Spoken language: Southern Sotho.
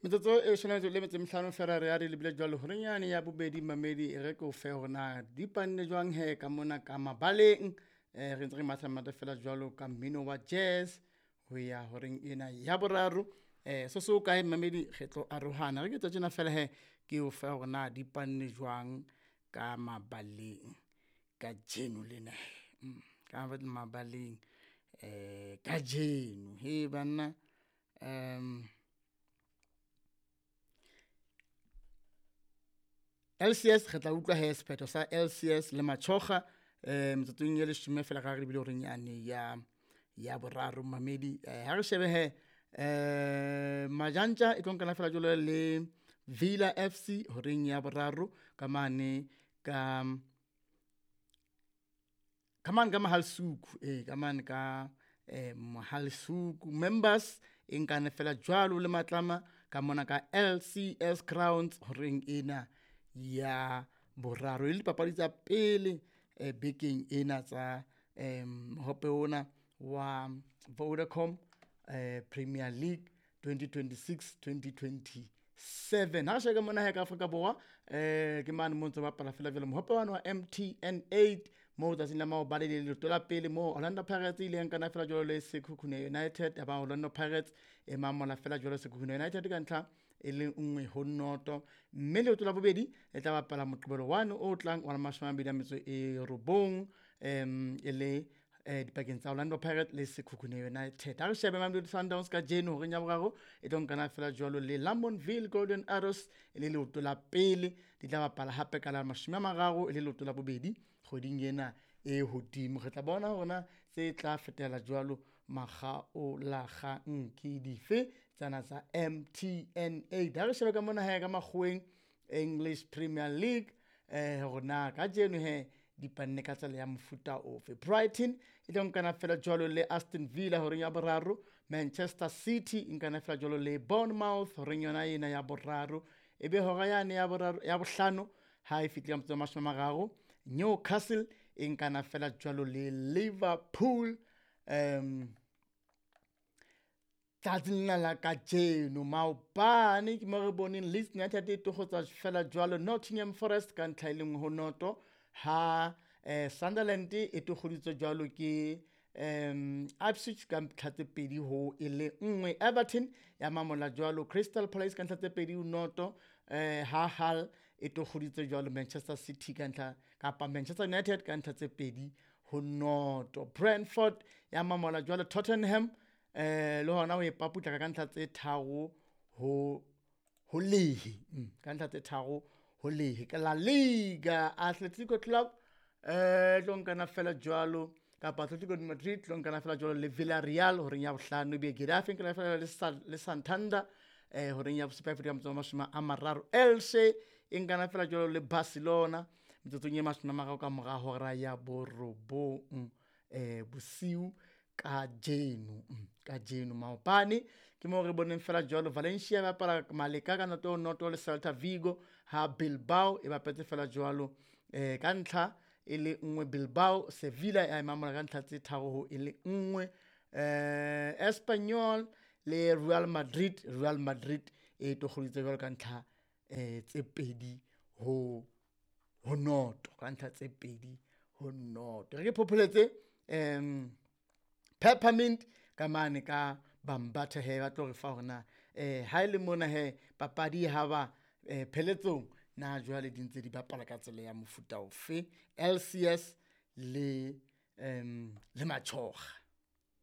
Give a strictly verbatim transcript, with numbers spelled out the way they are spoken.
Metsotso e leshome le metso e mehlano fela re ya re lebile jwalo horeng yane ya bobedi mamedi e re ke o fe hore na di panne jwang he ka mona ka mabaleng. Eh re ntse re matha matha fela jwalo ka mmino wa jazz ho ya horeng ena ya boraro. Eh so so kae mamedi re tlo arohana re ke tsa tjena fela he ke o fe hore na di panne jwang ka mabaleng kajeno lena. Mm, ka mabaleng eh kajeno he banna um L C S re tla utlwa he sephetho sa L C S le Machoga eh metsotsong e leshome fela ka re bile horeng yane ya ya boraro mamedi. Eh ha re shebe he eh Majantja e tlo nkana fela jwalo le Villa F C horeng ya boraro ka mane ka ka mane ka Mohalsuku eh ka mane ka eh Mohalsuku members e nkane fela jwalo le Matlama ka mona ka L C S Grounds horeng ena ya boraro. E le dipapadi tsa pele eh bekeng ena tsa eh mohope ona wa Vodacom eh Premier League twenty twenty-six twenty twenty-seven. Ha sheka mona he ka Afrika Borwa eh ke mane mo ntse ba bapala fela jwalo mohope wa M T N eight mo tsatsing la maobane le leeto la pele mo Orlando Pirates e ile nkana fela jwalo le Sekhukhune United, ya ba Orlando Pirates e mamola fela jwalo Sekhukhune United ka ntlha e le nngwe ho noto. Mme leeto la bobedi e tla bapala Moqebelo one o tlang wa mashome a mabedi a metso e robong em e le eh dipakeng tsa Orlando Pirates le Sekhukhune United. Ha re shebe Mamelodi Sundowns kajeno horeng ya boraro e tlo nkana fela jwalo le Lamontville Golden Arrows e le leoto la pele, di tla bapala hape ka la mashome a mararo e le leoto la bobedi kgweding ena e hodimo. Re tla bona hore na tse tla fetela jwalo makgaolakgang ke dife tsana tsa M T N eight. Ha re shebe ka mona he ka makgoweng English Premier League eh hore na kajeno he di panne ka tsela ya mofuta ofe. Brighton e tlo nkana fela jwalo le Aston Villa horeng ya boraro, Manchester City e nkana fela jwalo le Bournemouth horeng yona ena ya boraro, e be hora yane ya boraro ya bohlano ha e fihle ka motso wa mashome a mararo, Newcastle e nkana fela jwalo le Liverpool. Um tsatsing lena la kajeno maobane ke mo re boneng Leeds United e tokgotsa fela jwalo Nottingham Forest ka ntlha e le nngwe ho noto, ha eh Sunderland e tokgoditswe jwalo ke um Ipswich ka ntlha tse pedi ho e le nngwe, Everton ya mamola jwalo Crystal Palace ka ntlha tse pedi ho noto, eh ha Hull e tokgoditswe jwalo Manchester City ka ntlha kapa Manchester United ka ntlha tse pedi ho noto, Brentford ya mamola jwalo Tottenham eh le hona ho e paputla ka ntlha tse tharo ho ho lehe, ka ntlha tse tharo ho lehe. Ka La Liga Atletico Club eh tlo nkana fela jwalo kapa Atletico de Madrid tlo nkana fela jwalo le Villarreal horeng ya bohlano, ebe Getafe nkana fela le Sa-, le Santander eh horeng ya bosupa ya motso wa mashome a mararo, Elche e nkana fela jwalo le Barcelona metsotsong e mashome a mararo ka mora hora ya borobong eh bosiu kajeno, kajeno maobane ke mo re boneng fela jwalo Valencia ba bapala Maleka ka noto noto le Celta Vigo, ha Bilbao e bapetse fela jwalo eh ka ntlha e le nngwe Bilbao, Sevilla ya mamola ka ntlha tse tharo ho e le nngwe, eh Espanyol le Real Madrid, Real Madrid e tokgoditse jwalo ka ntlha eh tse pedi ho ho noto, ka ntlha tse pedi ho noto. Re ke phopholetse em Peppermint ka mane ka Bambatha he ba tlo re fa hore na eh ha ile mona he papadi ha ba eh pheletsong na jwale di ntse di bapala ka tsela ya mofuta ofe L C S le em le Machoga.